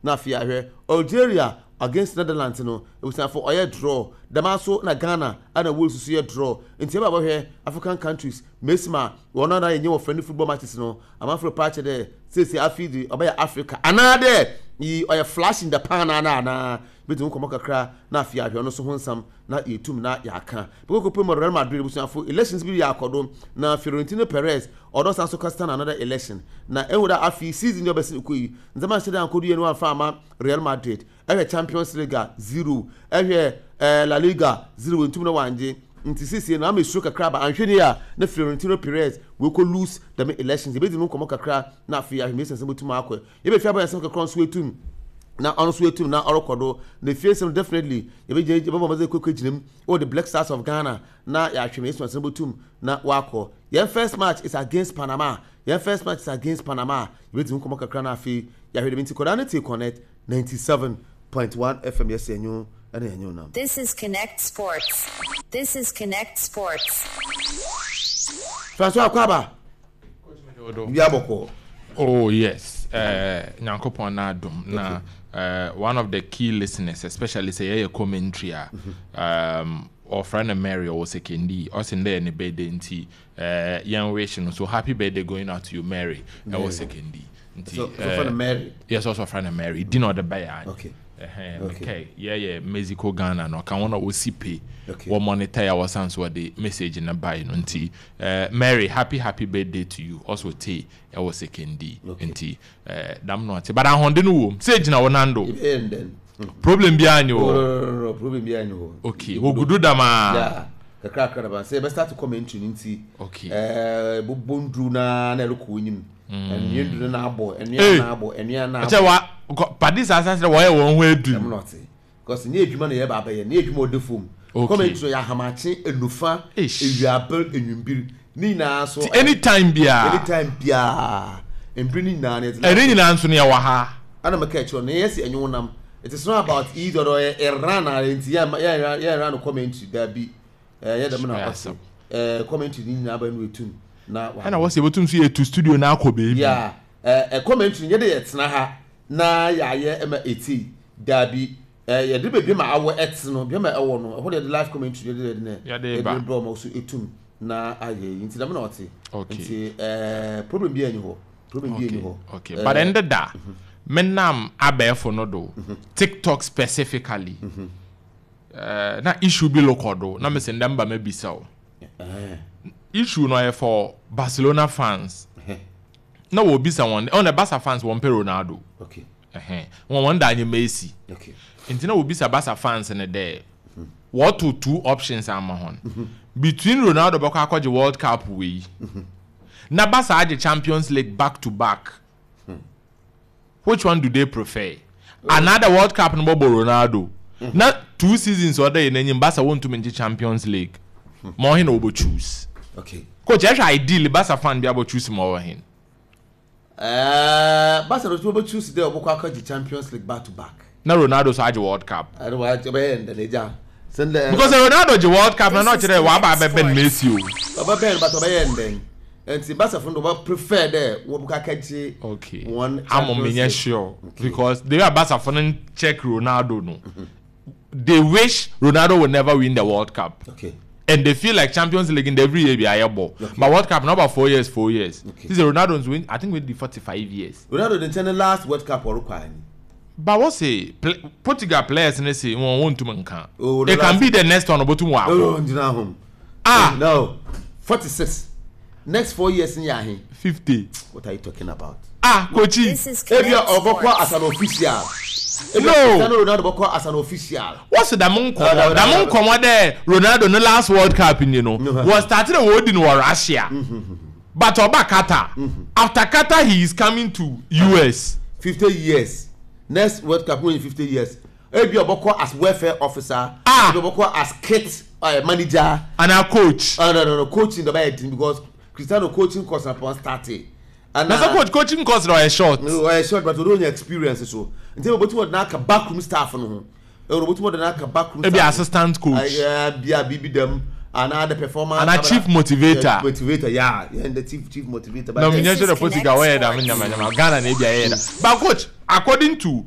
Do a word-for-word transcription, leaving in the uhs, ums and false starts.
Na afei ahwɛ Algeria against Netherlands no, ebusuafo, ɔyɛ draw. Dɛm aso na Ghana ana Wales nso yɛ draw. Nti ɛbɛ abɔhwɛ African countries mesima wɔn a na yɛnyɛ wɔ friendly football matches no, amanfo pa akyɛ dɛ seesie afi de ɔbɛyɛ Africa anaa dɛ yi ɔyɛ flash in the pan ana anaa bɛtumi nkɔmɔ kakra. Na afei ahwɛ ɔno nso ho nsɛm na yɛtum na yɛaka bɛkɔkɔ pɛ mu. Real Madrid, ebusuafo, elections bi yɛ akɔdo na Florentino Perez ɔdɔ san so kasa na another election na ehu dɛ afei season yi ɔbɛsi kɔ yi, ndzɛmba nhyɛ dɛ ankɔdo yɛ no amfa ama Real Madrid. Ɛhwɛ Champions League a, zero. Ɛhwɛ ɛɛ La Liga, zero. Ntum na wangye. Nti sisi no ama esuro kakra ba anhwɛ ni a na Florentino Perez wekɔ lose dɛm elections. Ebedi no nkɔmɔ kakra na afei ahwɛ nsɛm bɛtum akɔ. Yɛbɛfi abɔ nsɛm kakra nso etum na ɔno nso etum na ɔrekɔ do na efie nsɛm. Definitely yɛbɛgyina, yɛbɛbɔ ɔmɔdze kɔ gyina mu wɔ the Black Stars of Ghana na yɛahwɛ mɛ nsɛm bɛtum na wakɔ. Yɛn first match is against Panama. Yɛn first match is against Panama. Yɛbɛdi nkɔmɔ kakra na afei yɛahwɛ dɛm. Nti kɔdaa ne te Connect ninety seven point one F M, yɛsɛ ɛnyo ɛna ɛnyo nam. This is Connect Sports. This is Connect Sports. Francois Akwaba, bibi abɔkɔ? Oh yes, uh, Nyankopɔn na adom na uh, one of the key listeners, especially sɛ yɛyɛ commentary a, um, ɔfrɛ no Mary, ɔwɔ Sekondi. Ɔsɛ ndɛ yɛ ne birthday, nti uh, yɛn wish no so happy birthday going out to you, Mary, ɛwɔ Sekondi. Nti so so for the Mary. Yes, ɔsɔ frɛ no Mary di na ɔde bɛyɛ. Okay. Ɛhɛn. Okay. Okay, yɛyɛ Mexico Ghana no ɔka wɔn a wɔsi pay Okay. wɔ monitor yɛ, wɔsan so wɔde message no bae no. Nti uh, Mary, happy happy birthday to you also. Te ɛwɔ Sekondi. Okay. Nti uh, dam no ate, but ahoɔden no wɔ mu sɛ gyina wɔn nan do. Yɛbɛyɛ ndɛn. Problem biara ni wɔ? No, problem biara ni hɔ. Okay, wɔgudu dam a. Yeah, kakra kakra daba sɛ yɛbɛ start commentary no, nti okay ɛɛ bobɔ nduru naa na ɛrekɔ enyim, ɛnua nduru na abɔ Hey. ɛnua na abɔ ɛnua na ɛkyɛ abɔ. wa kɔ- padi saa asase dɛ wɔyɛ wɔn ho edu. Ɛmu na ɔte because nye edwuma na yɛba abɛyɛ nye edwuma ɔda fom. Okay. Commentary yɛ ahamakye, enufa, Eish. ewiaber, enwimbir ne nyinaa so. Ti anytime biara. Anytime biara, mbiri ne nyinaa no yɛdze. Ɛne nyinaa nso no yɛwɔ ha. Ana mɛka akyerɛ no yɛsi ɛnwo nam. It is not about easy ɔdɔ ɔyɛ Iran a nti yɛ yɛ yɛ Iran commentary daabi. Ɛɛ yɛ dɛm na Ɛyɛ ɔte asɛm. ɛɛ commentary ne nyinaa bɛ no etum na wa. Ɛna wɔsɛ yɛbɛtum so yɛtu studio no akɔ baabi. Yeah, ɛɛ ɛ commentary yɛde yɛ tena ha na yɛayɛ ɛma eti daabi. Ɛɛ yɛde beebi ma awɔ ɛte no, bi ma ɛwɔ no ɛhɔ de yɛde live commentary yɛde yɛde ne Yɛde ba. Yɛde brɛ ɔmo so etum na ayɛ yi. Nti dɛm na ɔte. Okay. Nti ɛɛ problem bi ɛni hɔ, problem bi ɛni hɔ. Okay, but ɛnde da menam abɛɛfo no do, TikTok specifically, uh, na issue bi lokɔ do na mesɛ ndɛ mba mabisa wo. Ɛɛ issue no ɔyɛ for Barcelona fans na wɔbisa wɔn ɔna Barca fans wɔn pɛ Ronaldo. Okay ɛhɛn, wɔn wɔn da anyɛ Messi. Okay nti na wɔbisa Barca fans no dɛ wɔto two options ama hɔn between Ronaldo bɛkɔ akɔgye World Cup wei na Barca agye Champions League back to back, which one do they prefer? Another World Cup no bɔbɔ Ronaldo na two seasons ɔda yɛ n'anim, Barca wɔntumi ngye Champions League ma ɔhe na wɔbɛ choose? Okay coach, ɛhwɛ, ideally Barca fan bi abɔ choose ma ɔwɔ hen? ɛɛ Barca no bɛ choose dɛ ɔbɛkɔ akɔgye Champions League back to back. Na Ronaldo so agye World Cup. Ɛno wa ɔbɛyɛ ndɛ n'egya sɛndɛ. Because Ronaldo gye World Cup na na This is ɔkyerɛ waba Connect abɛbɛn Sports. Messi o. Ɔbɛbɛn, but ɔbɛyɛ ndɛn nti Barca fo no ɔbɛ prefer dɛ wɔbɛkɔ akɔgye okay one amo Champions menyɛ League. sure. Okay. Because the way Barca fo no check Ronaldo no, they wish Ronaldo will never win the World Cup. Okay and they feel like Champions League in every year bi ayɛ bɔ, Okay. but World Cup na about four years four years. Okay. This is Ronaldo nso win, I think wey di forty five years. Ronaldo de nkyɛn ne last World Cup ɔrekɔ anyi. But wọ́n say play, Portugal players ne say wɔn wɔn ntum nka. Oh, no, it can last- be the next one obotum wɔ oh akɔ. Ngyina hom. Ah. No, forty six, next four years n yɛ ahe? Fifty. What are you talking about? Ah, kochi. This is Ebia Connect ɔbɔkɔ as Sports. an official. Ebia No. Cristiano Ronaldo bɔkɔ as an official. Wọ́n sɛ dàmú No, no, nkɔmɔ no, dàmú no. nkɔmɔ dɛ Ronaldo ne last World Cup ni no No. wɔ start de wɔ di no wɔ Russia, but ɔba Qatar. After Qatar he is coming to U S. Fifty years, next World Cup wey fifty years, ebi ɔbɔkɔ as welfare officer. Ah. Ebi ɔbɔkɔ as kit uh, manager. Ana coach? uh, no no no coaching dɔ bɛ yɛ din because Cristiano coaching course na pɔn start. Na sɛ coach coaching course na ɔyɛ short. Ɔyɛ short, but ɔdo nya experience so nti ebi obotum ɔde n'aka backroom staff no ho, ebi obotum ɔde n'aka backroom ebi staff. Assistant coach. Ɛyɛ bia bibi dɛm ana the performance. Ana chief motivator. Motivator, yeah yeah the chief chief motivator. Na But mi nyɛ This sure is the Portugal Connect wɔyɛ dàmú Sports. nyamanyama, Ghana na ebi ayɛ dà, but coach According to